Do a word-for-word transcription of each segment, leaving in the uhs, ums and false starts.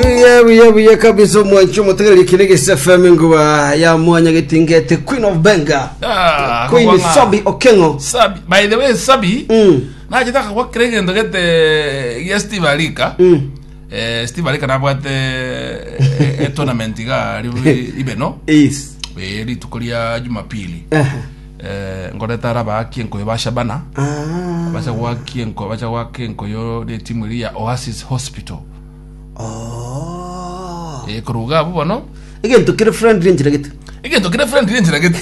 Buya buya buya kabisa, omwanchi omotegereri kine F M, nguba ya mwanya getingete, Queen of Benga. Ah, Queen. kobanga. Sabi Okengo. Sabi, by the way, Sabi, Mm. nachete gwakira egento gete gia Steve Arika. Mm. Eh, Steve Arika nabwate eh, e tournament iga ri- ibeno Is. eh, rituko ria Jumapili. Eh. Eh, ngoreta araba enkoyo ba Shabana. Ah. Bacha gwaki enkoyo, bacha gwaka enkoyo ne timu eri ya Oasis Hospital. Oh. Eh, koruga abo bono Egento kire friendly nchira gete. Egento kire friendly enchera gete,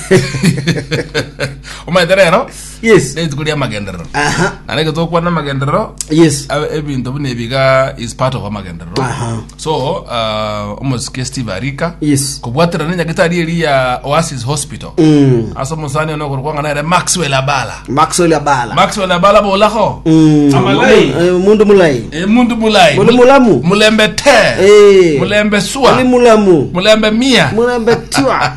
omanyete rero Yes. rituko ria amagenderero. Aha. Na reke tokwana amagenderero. Yes. Abe- ebinto buna ebiga is part of amagenderero. Aha. So uh, omosike Steve Arika Yes. kobwaterana nyagetari eri ya Oasis Hospital Mm. ase omosani ono okorokwa nere Maxwell Abala. Maxwell Abala. Maxwell Abala, bolako. Mm. Amalai. Eh, mundu mulai. E, mundu mulai. Muli mulamu. Mulembe te. Eh. Mulembe sua. Muli mulamu. Mulembe mia. Mulembe tua.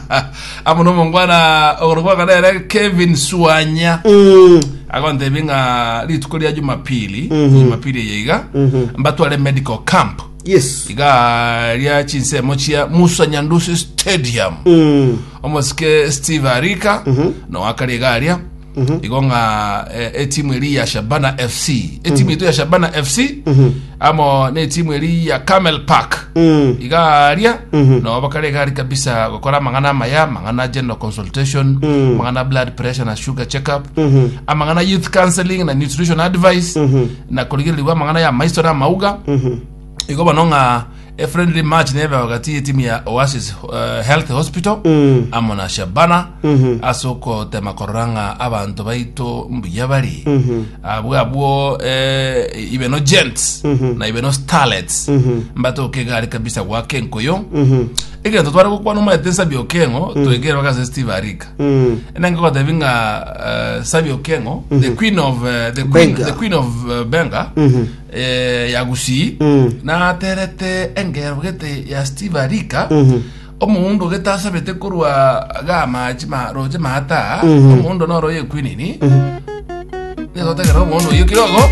Amo nomongwana okorokwa nere Kevin Suanya. Mm. Agontebi ng'a rituko ria Jumapili, Mhm. Jumapili eye iga mbatware medical camp Yes. iga ria chinsemo chia Musa Nyandusi Stadium. Mm. Omosike Steve Arika no akari iga aria igo ng'a eh, etimu eri ya Shabana F C, etimu itu ya Shabana F C amo ne etimu eri ya Camel Park Mm. iga aria no bakare iga ari kabisa gokora amang'ana amaya, amang'ana general consultation, amang'ana blood pressure na sugar check up, amang'ana youth counseling na nutrition advice, na korigereriwa amang'ana ya maiso na amauga. Igo bono ng'a a friendly match nebe wakati timu ya Oasis uh, Health Hospital Mm. amo na Shabana ase okotema korora ng'a abanto baito mbuya bari abwo abwo eh, ibeno gents na ibeno starlets mbatoke egari kabisa gwaka enkoyo. Egento tware gokwana, omanyete Nsabi Okengo twegere bakase Steve Arika. Mm. Enenge gotebi ng'a uh, Sabi Okengo, the queen of uh, the queen, Benga. the queen of uh, Benga eh, ya Gusii, naterete engero gete ya Steve Arika, omundu getasabete korwa gamachi roche mata omundu noro ye queen ni netotegera omundu oyo kidogo.